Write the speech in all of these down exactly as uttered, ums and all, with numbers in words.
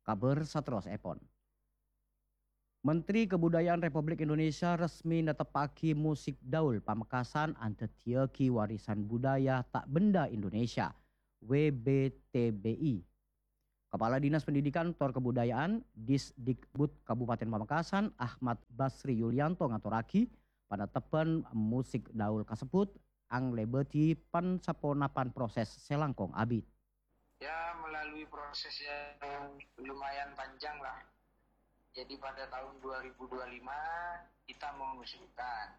Kabhâr saterrossèpon. Menteri Kebudayaan Republik Indonesia resmi neteppaghi musik daul Pamekasan andaddhiyâghi warisan budaya ta' benda Indonesia, W B T B I. Kepala Dinas Pendidikan tor Kebudayaan, Disdikbud Kabupaten Pamekasan, Ahmad Basri Yulianto ngatorraghi, panettebhân musik daul kasebbhut anglèbâdhi pan-saponapan proses sè langkong abit. Ya, melalui proses yang lumayan panjang lah. Jadi pada tahun dua ribu dua lima kita mengusulkan.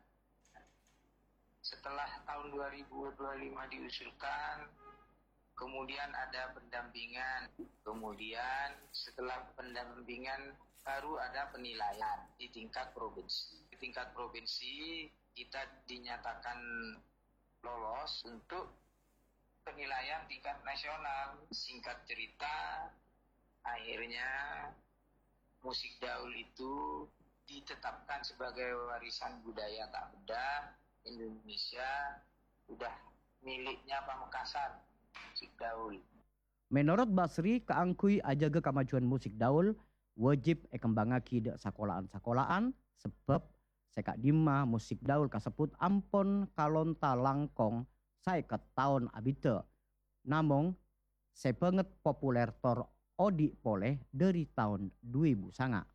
Setelah tahun dua ribu dua lima diusulkan, kemudian ada pendampingan. Kemudian setelah pendampingan baru ada penilaian di tingkat provinsi. Di tingkat provinsi kita dinyatakan lolos untuk penilaian tingkat nasional. Singkat cerita, akhirnya musik daul itu ditetapkan sebagai warisan budaya tak benda Indonesia, udah miliknya Pamekasan, musik daul. Menorot Basri, kaangghuy ajâgâ kamajuwân musik daul, wajib èkembhângaghi dâ' sakola'an-sakola'an, sabâb sè ka'dimma musik daul kasebbhut ampon kalonta langkong saèket taon abiddhâ, namong sè bângèt populer tor odi' polè dâri taon du èbu sanga'.